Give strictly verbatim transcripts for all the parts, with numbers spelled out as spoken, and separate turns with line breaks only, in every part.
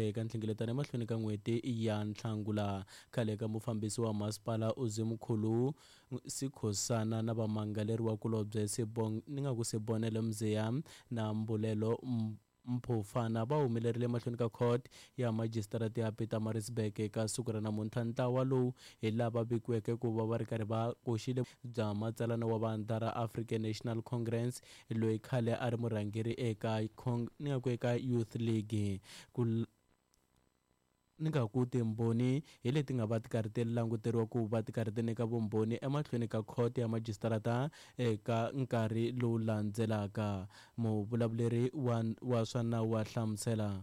eka nhlengeletano emahlweni ka n'hweti ya Nhlangula. Khale ka mufambisi wa masipala Uzimkhulu Sikhosana na vamangaleriwa kulobye Sibong ni nga ku Sibonelo Mziya na Mbulelo Mphufana va humelerile emahlweni ka court ya majisitarata ya Pietermaritzburg eka siku ra namuntlha. Ntlawa lowu hi lava vikiweke ku va va ri karhi va koxile bya matsalana wa vandla ra African National Congress loyi khale a ri murhangeri eka ni nga ku eka Youth League. Ku ni nga ku timbhoni hi leti nga va ti karhi ti languteriwa ku va ti karhi ti nyika vumbhoni emahlweni ka khoto ya majisitarata eka nkarhi lowu landzelaka. Muvulavuleri wa, wa swa nawu wa hlamusela.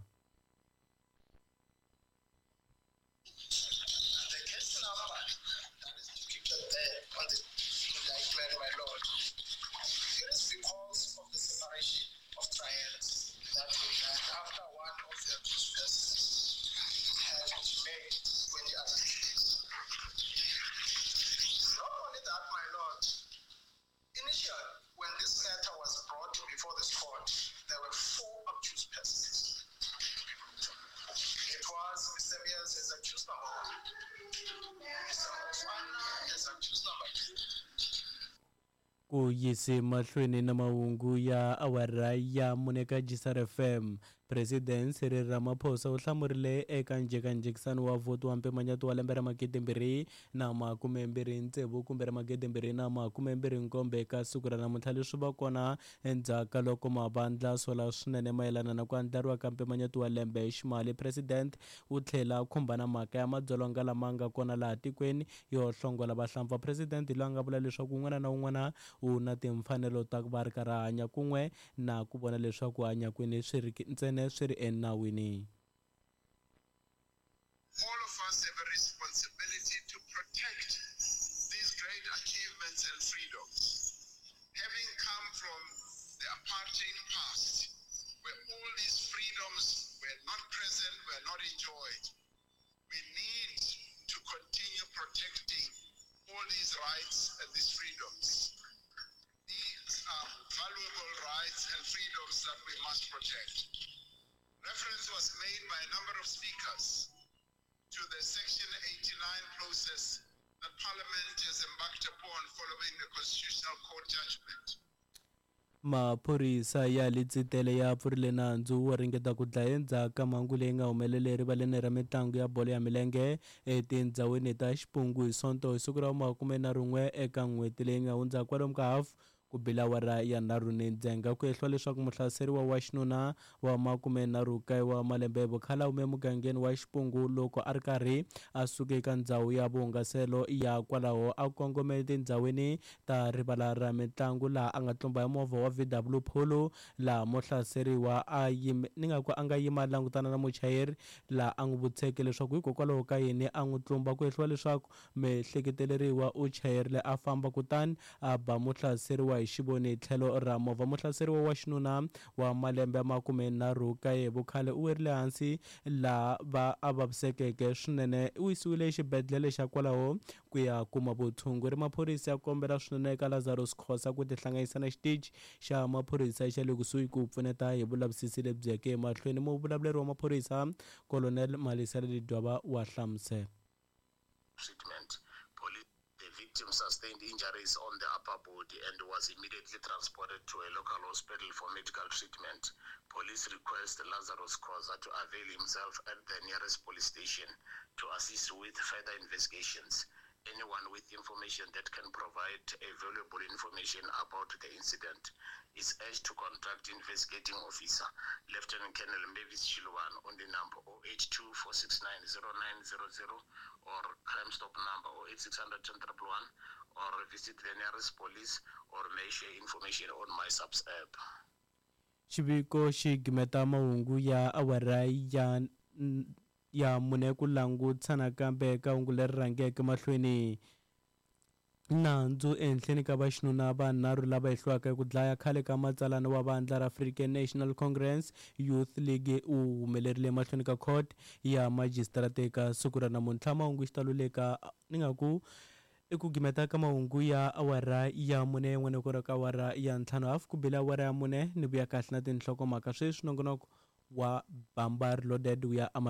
The case number that is depicted there on the indictment, my lord, it is because of the separation of trials that we had after one of the accused persons had made twenty allegations. Not only that, my lord, initially, when this matter was brought before this court, there were four accused persons. It was Mister Mears as accused number one, Mister Mofana as accused number two.
Ku yise mahlweni na mahungu ya awara ya mune ka G S R F M, President Cyril Ramaphosa u hlamurile eka njhekanjhekisano wa vhoti wa mpimanyeto wa lembe ra magidi mbirhi na makume mbirhi tsevu kumbe ra magidi mbirhi na makume mbirhi nkombo eka siku ra namuntlha. Leswi va kona endzhaku ka loko mavandla sola swinene mayelana na ku andlariwa ka mpimanyeto wa lembe ximali. President u tlhela a khumba na mhaka ya madzolonga lama nga kona laha tikweni yo hlongola vahlampfa. President loyi a nga vula leswaku un'wana na un'wana u na timfanelo ta ku va ri karhi a hanya kun'we na ku vona leswaku hanya kwini swi ri ntsena swi ri enawini.
All of us have a responsibility to protect these great achievements and freedoms. Having come from the apartheid past, where all these freedoms were not present, were not enjoyed, we need to continue protecting all these rights and these freedoms. These are valuable rights and freedoms that we must protect. Reference was made by a number of speakers to the Section eighty-nine process that Parliament has embarked upon following the Constitutional Court judgment.
Maphorisa ya Letsitele ya pfurile nandzu wo ringeta ku dlaya endzhaku ka mhangu leyi nga humelela erivaleni ra mitlangu ya bolo ya milenge etindhawini ta Xipungu hi Sonto hi siku ra makume na rin'we eka n'hweti leyi nga hundza kwalomu ka hafu ku bila awara ya nharhu ni ndzhenga. Ku ehliwa leswaku muhlaseriwa wa xinuna wa makume nharhu kaye wa malembe hi vukhale a hume emugangeni wa Xipungu loko a ri karhi a suka eka ndhawu ya vuhungaselo ya kwalaho a kongome etindhawini ta rivala ra mitlangu laha a nga tlumba hi movha wa V W Polo laha muhlaseriwa a yime ni nga ku a nga yima a langutana na muchayeri laha a n'wi vutiseke leswaku hikokwalaho ka yini a n'wi tlumba. Ku ehliwa leswaku mihleketeleriwa u chayerile a famba kutani a ba muhlaseriwa hi xivoni tlhelo ra movha. Muhlaseriwa wa xinuna wa malembe ya makume nharhu kaye vukhale u werile hansi laha va a vavisekeke swinene, u yisiwile exibedhlele xa kwalaho ku ya kuma vutshunguri. Maphorisa ya kombela swinene eka Lazarus Khosa ku tihlanganisa na xitichi xa maphorisa xa le kusuhi ku pfuneta hi vulavisisi lebyi yeke emahlweni. Muvulavuleri wa maphorisa Colonel Malisela Lidwaba wa hlamusela.
Treatment. The victim sustained injuries on the upper body and was immediately transported to a local hospital for medical treatment. Police request Lazarus Khoza to avail himself at the nearest police station to assist with further investigations. Anyone with information that can provide a valuable information about the incident is urged to contact investigating officer Lieutenant Colonel Mavis Chiluan on the number oh eight two four six nine zero nine zero zero or Crime Stop number oh eight six hundred ten triple one or visit the nearest police or may share information on my subs app.
Xiviko xi gimeta mahungu ya awara ya ya mune ku langutisa nakambe ka hungu leri rhangeke mahlweni. Nandzu ehenhleni ka vaxinuna vanharhu lava hehliwaka ku dlaya khale ka matsalana wa vandla ra African National Congress Youth League u humelerile mahlweni ka court ya majisitarata eka siku ra namuntlha. Mahungu xitalo le ka ni nga ku i ku gimeta ka mahungu ya awara ya mune yin'wana ku ri ka awara ya ntlhanu hafu ku bile awara ya mune ni vuya kahle na tinhlokomhaka sweswi nongonoko wa Bamba Reloaded wu ya emahlweni.